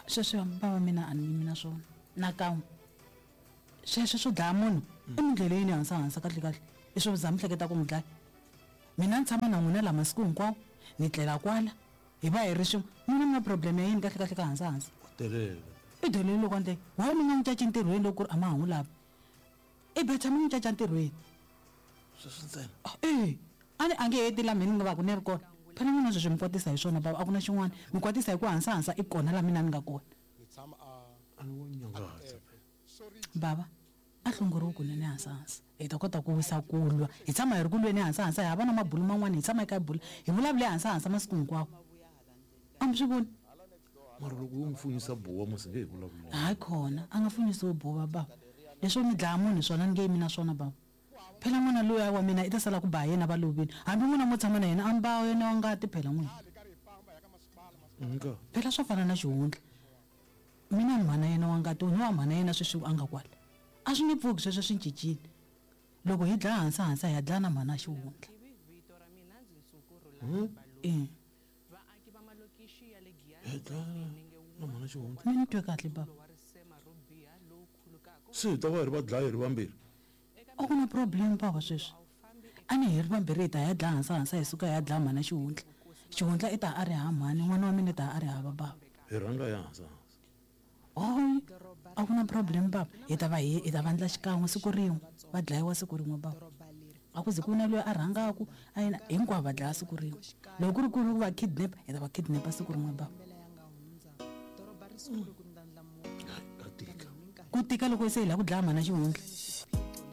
Sweswo bava mina a ni yimi na swona nakan'we. Sweswo swo dlaya munhu i mi ndlele yini hansi hansi kahle kahle i swo za mi hleketa ku n'wi dlaya. Mina ni tshama na n'wina la masiku hinkwawo ni tlela kwala hi va hi ri swin'we n'wina mi na problem ya yini kahle kahle ka hansi hansi. U delele. I delele loko a ndle why mi nga n'wi caci ntirhweni loko ku ri a ma ha n'wi lavi. I better mi n'wi caca ntirhweni. Sweswo ntsena. E a ni a nge heti la mina ni nga va ku ni ri kona. Phela n'wina sweswi mi kwatisa hi swona bava a ku na xin'wana mi kwatisa hi ku hansi hansi i kona la mina ni nga kona. A ni wo nyangatsa. Bava a hlongoriwi kunene hansi hansi hi ta kota ku wisa ku lwa hi tshama hi ri ku lweni hansi hansi hi hava na mabulu man'wana hi tshama hi kha hi bula hi vulavule hansi hansi masiku hinkwawo a mi swi voni. Mara loko yo n'wi funyisa buwa musi nge hi vulavuli. Hayi khona a nga funyisiwi buwa bava leswo mi dlaya munhu hi swona ni nge yimi na swona bava. Phela n'wana luya wa mina i ta sala ku ba yena va lovile. Hambi n'wina mo tshama na yena a mi ba yena wa ngati phela n'wina. Nka. Phela swa fana na xihundla. Mina ni mhana yena wa ngati ni wa mhana yena sweswi a nga kwala. A swi nge pfuki sweswo swi cincile. Loko hi dlaya hansi hansi hi ya dlaya na mhana xihundla. E. Hi dlaya na mhana xihundla. Mi ni twe kahle baba. Se hi ta va hi ri vadlayi hi ri vambirhi. A ku na problem bava sweswi. A ni hi ri vambirhi hi ta ya dlaya hansi hansi hi suka hi ya dlaya mhana xihundla. Xihundla i ta a ri hava mhani, n'wana wa mina i ta a ri hava bava. Hi rhanga hi hansi hansi. Hoy, a ku na problem bava. Hi ta va hi hi ta va ndla xikan'we siku rin'we. Va dlayiwa siku rin'we bava. A ku ze ku na loyi a rhangaku a yena hinkwavo va dlaya siku rin'we. Loko ku ri ku ri ku va kidnap hi ta va kidnap siku rin'we bava. Ka tika. Ku tika loko se hi lava ku dlaya mhana xihundla.